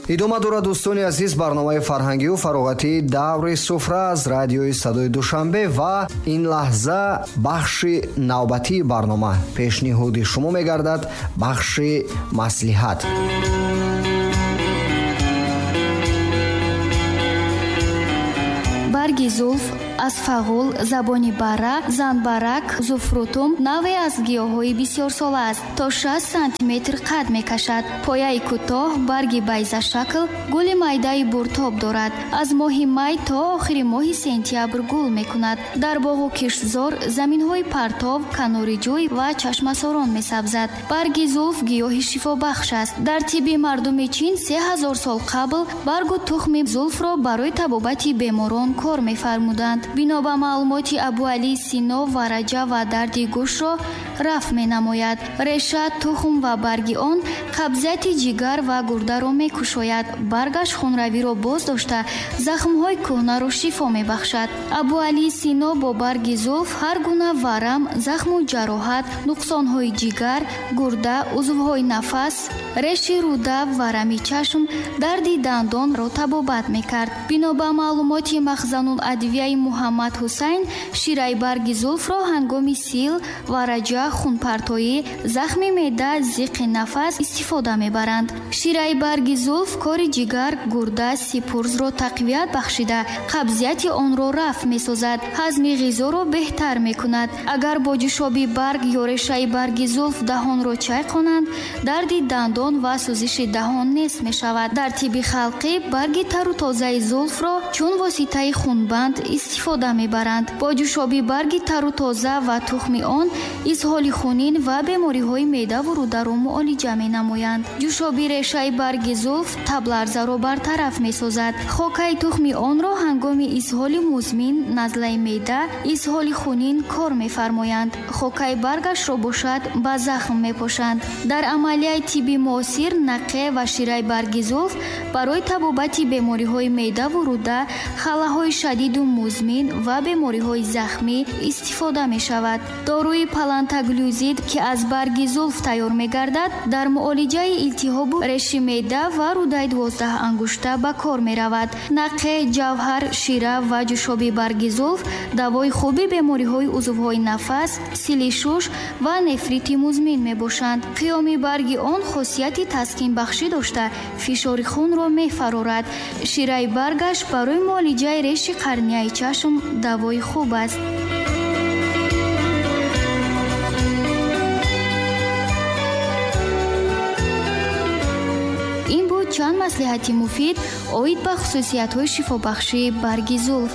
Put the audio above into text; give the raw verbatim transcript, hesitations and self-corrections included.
Идома дорад, дӯстони азиз, барномаи фарҳангию фароғатии даври суфра аз радиои садои Душанбе ва ин лаҳза бахши навбатии барнома пешниҳоди шумо мегардад, бахши маслиҳат. Барги зулф аз фағул, забони бара, занбарак, зуфрутум навъе аз гиёҳҳои бисёрсола аст. То шаст сантиметр қад мекашад. Пояи кӯтоҳ, барги байзашакл, гули майдаи буртоб дорад. Аз моҳи май то охири моҳи сентябр гул мекунад. Дар боғу киштзор, заминҳои партов, канори ҷӯй ва чашмасорон месабзад. Барги зулф гиёҳи шифобахш аст. Дар тибби мардуми Чин се ҳазор сол қабл баргу тухми зулфро барои табобати беморон кор мефармуданд. Бино ба маълумоти Абуалӣ Сино, вараҷа ва дарди гӯшро рафъ менамояд. Реша, тухм ва барги он қабзияти ҷигар ва гурдаро мекушояд. Баргаш хунравиро боз дошта, захмҳои кӯҳнаро шифо мебахшад. Абуалӣ Сино бо барги зулф ҳар гуна варам, захму ҷароҳат, нуқсонҳои ҷигар, гурда, узвҳои нафас, реши рӯда, варами чашм, дарди дандонро табобат мекард. Бино ба маълумоти Махзануладвияи Муҳаммад Ҳусайн, шираи барги зулфро ҳангоми сил, вараҷа, хунпартоӣ, захми меъда, зиқи нафас истифода мебаранд. Шираи барги зулф кори ҷигар, гурда, сипурзро тақвият бахшида, қабзияти онро рафъ месозад, ҳазми ғизоро беҳтар мекунад. Агар бо ҷӯшоби барг ё решаи барги зулф даҳонро чайқонанд, дарди дандон ва сӯзиши даҳон нест мешавад. Дар тибби халқӣ барги тару тозаи зулфро чун воситаи хунбанд истифода мебаранд. Бо ҷӯшоби барги тару тоза ва тухми он изҳоли хунин ва бемориҳои меъдаву рӯдаро муолиҷа менамоянд. Ҷӯшоби решаи барги зулф табларзаро бартараф месозад. Хокаи тухми онро ҳангоми изҳоли музмин, назлаи меъда, изҳоли хунин кор мефармоянд. Хокаи баргашро бошад ба захм мепошанд. Дар амалияи тибби муосир нақе ва шираи барги зулф барои табобати бемориҳои меъдаву рӯда, халаҳои шадиду музмин ва бемориҳои захмӣ истифода мешавад. Доруи палантаглюзид, ки аз барги зулф тайёр мегардад, дар муолиҷаи илтиҳобу реши меъда ва рӯдаи дувоздаҳ ангушта ба кор меравад. Нақе, ҷавҳар, шира ва ҷӯшоби барги зулф давои хуби бемориҳои узвҳои нафас, сили шуш ва нефрити музмин мебошанд. Қиёми барги он хосияти таскинбахшӣ дошта, фишори хунро мефарорад. Шираи баргаш барои муолиҷаи реши қарнияи чашм давои хуб аст. Ин буд чанд маслиҳати муфид оид ба хусусиятҳои шифобахшии барги зулф.